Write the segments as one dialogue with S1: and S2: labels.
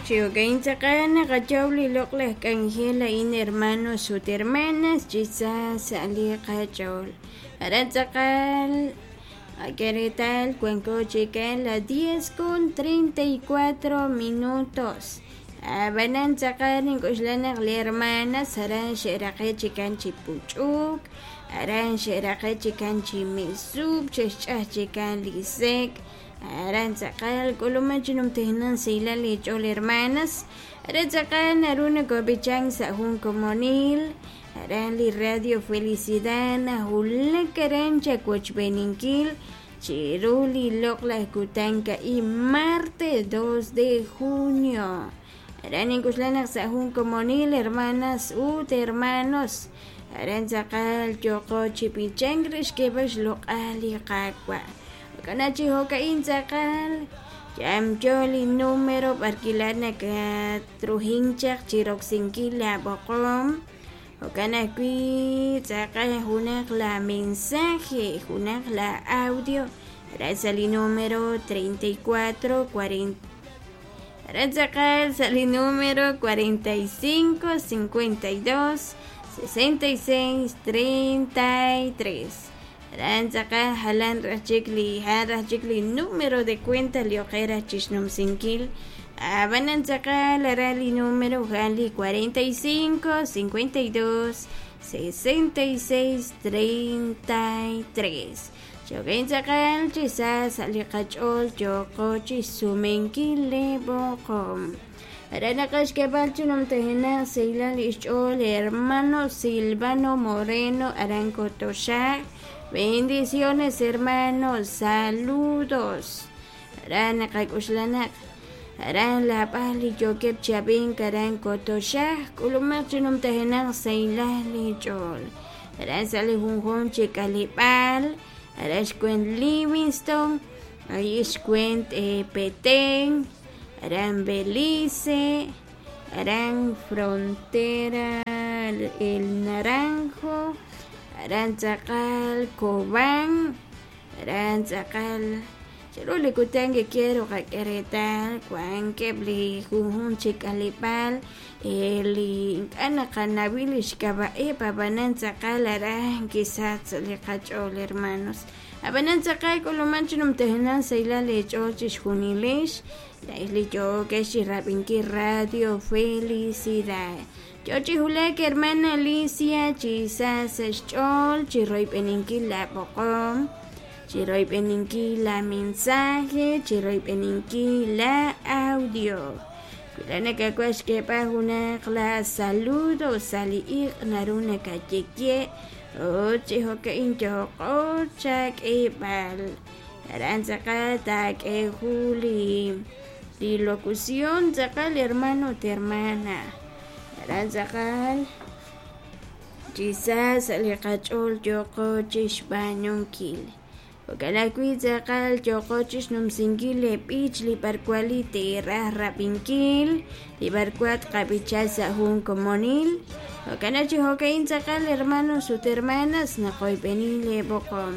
S1: Chi jo'ka'in tz'aqal naqayow li loq'laj k'anjel a'in hermanos ut hermanas chi sa sa' li qach'ool. Aran tz'aqal qak'e reetal wanko chikan la 10 con 34 minutos. Ab'anan tz'aqal nink'oxla naq li hermanas aran xe'raqe' chikan chi puch'uk, aran xe'raqe' chikan chi mesuk, xe'xch'aj chikan li sek', aran tz'aqal k'uluman chi numtajenaq sahilal li ch'ool hermanas, aran tz'aqal naru nokob'ichank sa' jun komonil, aran li Radio Felicidad nawulak aran chawochb'eeninkil chiru li loq'laj kutan a'in martes 2 de junio. Aran nink'oxla naq sa' jun komonil hermanas ut hermanos, aran tz'aqal yooqo chi b'ichank re xk'eeb'al xloq'al li Qaawa'. Jo'kan chi jo'ka'in tz'aqal yamyo li número b'arkila nakatruhin chaq chi roksinkil la b'oqom. Jo'kan ajwi' tz'aqal junaq la mensaje, junaq la audio, aran sa' li número 34 40 aran tz'aqal sa' li número 45 52 66 33. Aran tz'aqal jalan raj chik li jan raj chik li número de cuenta li oqe raj chixnumsinkil. Ab'anan tz'aqal aran li número jan li 45 52 66 33. Jo'kan tz'aqal chi sa sa' li qach'ool yooqo chixsumenkil li b'oqom. Aran naqaxk'eeb'al chi numtajenaq sahilal li xch'ool hermano Silvano Moreno aran Kotoxaj. Bendiciones hermano, saludos. Aran naqak'oxla naq aran lab'al li yookeb' chi ab'ink aran Kotoxaj k'ulumaq chi numtajenaq sahilal li ch'ool. Aran sa' li junjunq chi k'aleb'aal, aran xkwent Livingston, ahí xkwent Petén, aran Belice, aran Frontera El Naranjo, aran tz'aqal Cobán, aran tz'aqal chiru li kutan que quiero qak'e reetal wankeb' li junjunq chi k'aleb'aal li ink'a' naqanawi li xk'ab'a'eb' ab'anan tz'aqal aran kisach sa' li qach'ool hermanos. Ab'anan tz'aqal k'uluman chi numtajenaq sahilal eech'ool chixjunilex la'ex li yookex chi rab'inkil Radio Felicidad. Yo chi wulak hermana Alicia chi sa sa' xch'ool chi royb'eninkil la b'oqom, chi royb'eninkil la mensaje, chi royb'eninkil la audio. Wi la nakawaj xk'eeb'al junaq la saludo sa' li iq' naru nakaye ut chi jo'ka'in yooqo chak'eeb'al. Aran tz'aqal taak'e jun li locución tz'aqal hermano ut hermana. Aran tz'aqal chi sa sa' li qach'ool yooqo chixb'aanunkil. Jo'kan ajwi' tz'aqal yooqo chixnumsinkil li b'ich li b'arwan li teeraj rab'inkil, li b'arwan tqab'icha sa' jun komonil. Jo'kan chi jo'ka'in tz'aqal hermanos ut hermanas naqoyb'eni li b'oqom.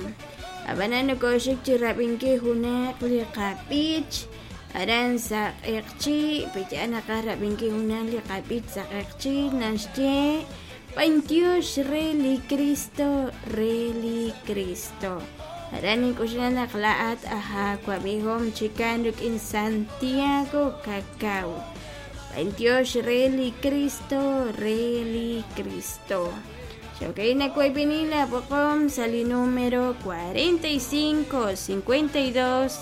S1: Ab'anan nokoxik chi rab'inkil junaq li qab'ich aran sa' q'eqchi', peya naqaj rab'inkil junaq li qab'ich sa' q'eqchi' naxye B'antiox re li Cristo, re li Cristo. Aran nink'oxla naq laa'at aj aawab'ihom chikan rik'in Santiago Cacao. B'antiox re li Cristo, re li Cristo. Jo'ka'in nawoyb'eni la b'oqom sa' li número 45 52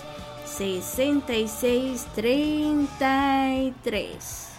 S1: 66 33.